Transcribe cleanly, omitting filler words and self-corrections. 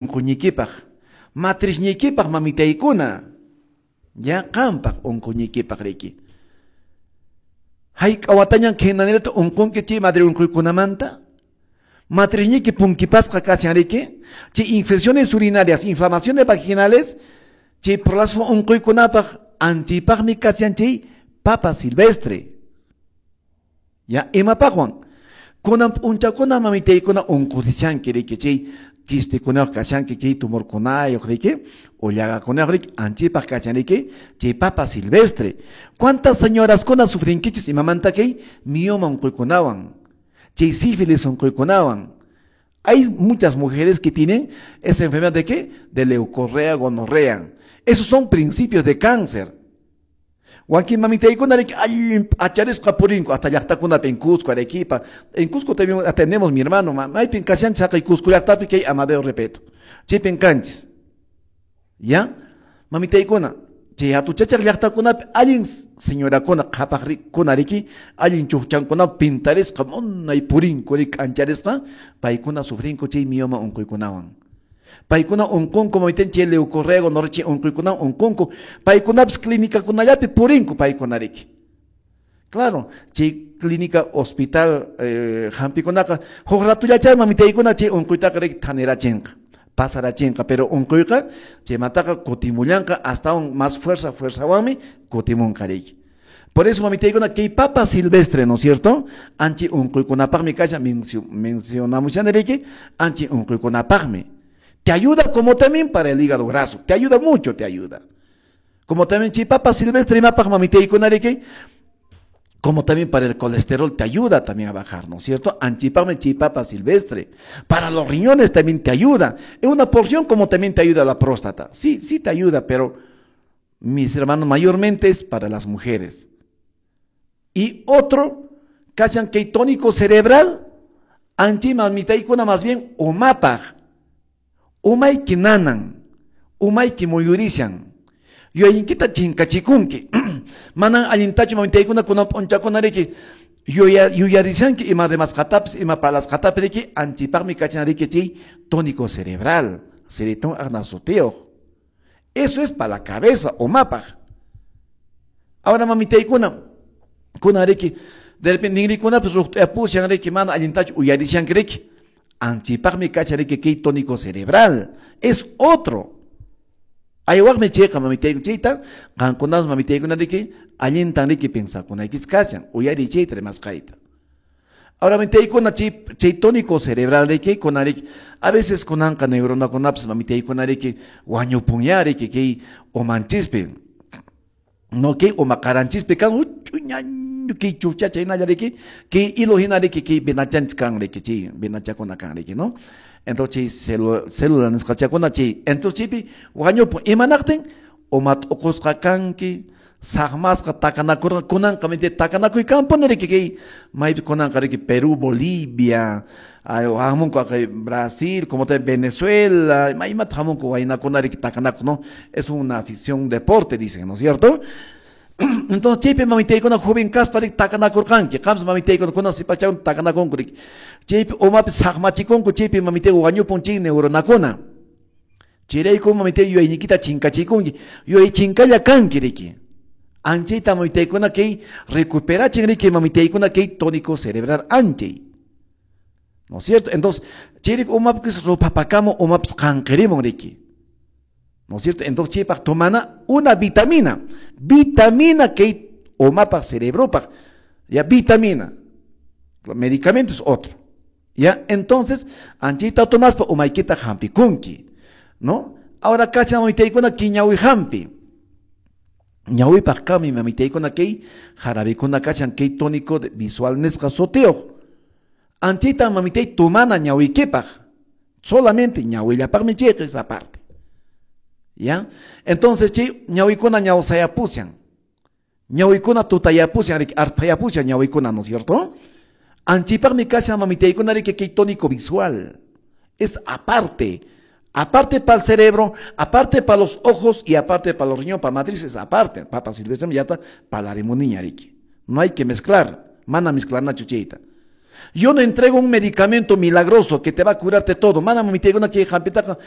Unquñikipaq, matrizñikipaq mamitaykuna, ya qampaq unquñikipaq riki. Hayk'a watañan khaynanirata unqunki chay madre unquykunamanta? Matrizñiki punkipasqa kashan riki, chay infecciones urinarias, inflamaciones vaginales, chay prolazo unquykunapaq anchipaqmi kashan chay papa silvestre. Ya imapaqwan? Kunan p'unchakuna mamitaykuna unqusichanki riki, chay quistikunayuq kashanki, kay tumorkunayuq riki, o llagakunayuq riki, anchipaq kashan riki, chay papa silvestre. ¿Cuántas señoraskuna sufrinkichis imamanta kay mioma unquykunawan, chay sífilis unquykunawan? Hay muchas mujeres que tienen esa enfermedad de ¿qué? De leucorrea, gonorrea. Esos son principios de cáncer. Wakin mamitaykuna riki allin p'acharisqa purinku hasta llaqtakunapi en Cusco, Arequipa. En Cusco también atendemos, mi hermano, maypin kashanchis haqay Cusco llaqtapi kay Amadeo Repeto. Chaypin kanchis. ¿Ya? Mamitaykuna, chay hatuchachaq llaqtakunapi allin señorakuna qhapaqkuna riki, allin chukchankuna pintarisqa munay purinku riki k'ancharisqa, paykuna sufrinku chay mioma unquykunawan. Paykuna unqunku mamiten chay leucorrea, gonorrea chay unquykunawan unqunku. Paykunapis clínicakunallapi purinku paykuna riki. Claro, chay clínica hospital hampikunaqa huk ratullachay mamitaykuna chay unquytaqa riki thanirachinqa, pasarachinqa, pero unquyqa chaymantaqa kutimullanqa hasta aún más fuerza, fuerzawanmi kutimunqa riki. Por eso mamitaykuna kay papa silvestre, ¿no es cierto? Anchi unquykunapaqmi kashan mencionamos ya riki, anchi unquykunapaqmi. Te ayuda como también para el hígado graso, te ayuda mucho, te ayuda. Como también chay papa silvestre imapaq mamitaykuna riki, como también para el colesterol te ayuda también a bajar, ¿no es cierto? Anchipaqmi chay papa silvestre. Para los riñones también te ayuda. En una porción como también te ayuda la próstata. Sí, sí te ayuda, pero mis hermanos, mayormente es para las mujeres. Y otro, kashan kay tónico cerebral, anchi mamitaykuna más bien umapaq. Umayki nanan, umayki muyurishan, yuyaykita chinkachikunki. Manan allintachu mamitaykuna kunan p'unchakuna riki, yuyarishanki ima rimasqatapis, ima parlasqatapis riki, anchipaqmi kachan riki chay tónico cerebral, ceretón agnasutiyuq. Eso es para la cabeza, umapaq. Ahora mamitaykuna, kuna riki, de repente ninrikunapis ruqt'uyapushan riki, mana allintachu uyarishanki riki. Anchipaqmi kashan riki kay tónico cerebral. Es otro. Aywaqmi chayqa mamitaykuna chayta, qankunapas mamitaykuna riki, allintan riki pensakunaykichis kashan, uyariy chayta rimasqayta. Ahora mamitaykuna chay tónico cerebral riki, kuna riki, a veces kunanqa neuronakunapas mamitaykuna riki, wañupunya riki kay umanchispi. No kay umaqaranchispi kan huch'uñañu kay chucha chaynalla riki, kay hilo hina riki, kay venachanchis kan riki, chay venachakuna kan riki, ¿no? Entonces chay célula nisqachakuna chay, entonces chaypi wañupun imanaqtin uma t'uqusqa kanki, saqmasqa takanakurqa, kunanqa mamita takanakuy kanpuni riki kay maypi kunanqa riki Perú, Bolivia, ay, hamunku kay Brasil, como también Venezuela, maymata hamunku waynakuna riki takanakuq, ¿no? Es una afición, deporte, dicen, ¿no es cierto? Entonces chaypi mamitaykuna joven kaspa riki takanakurqanki, qampas mamitaykuna kunan sipachakuna takanakunku riki. Chaypi umapi saqmachikunku, chaypi mamitay wañupun chay neuronakuna. Chayrayku mamitay yuyayniykita chinkachikunki, yuyay chinkalla kanki riki. Anchayta mamitaykuna kay recuperachin riki mamitaykuna kay tónico cerebral anchay. ¿No es cierto? Entonces, chayrayku umapis rupapakamun, umapis qanqirimun riki. ¿No es cierto? Entonces, chaypaq tomana una vitamina. Vitamina kay umapaq cerebropaq. Ya, vitamina. Medicamento es otro. ¿Ya? Entonces, anchayta tomaspa umaykita hampikunki, ¿no? Ahora kacha mamitaykuna kay ñawi hampi. Ñawipaq kami mamitaykuna kay jarabikuna kashan kay tónico de visual nisqa sutiyuq. Anchayta mamitay tomana ñawikipaq. Solamente ñawillapaqmi chayqa esa parte. ¿Ya? Entonces, chay ñawikuna ñawsayapushan. Ñawikuna tutayapushan, riki, arpayapushan ñawikuna, ¿no es cierto? Anchipaqmi kashan mamitaykuna riki kay tónico visual. Es aparte. Aparte para el cerebro, aparte para los ojos y aparte para los riñones, para matrices, aparte. Papa silvestre ya está para la rimuniña, riki. No hay que mezclar. Mana mezclar na chuchita. Yo no entrego un medicamento milagroso que te va a curarte todo. Manam mitaykuna kay hampitaqa.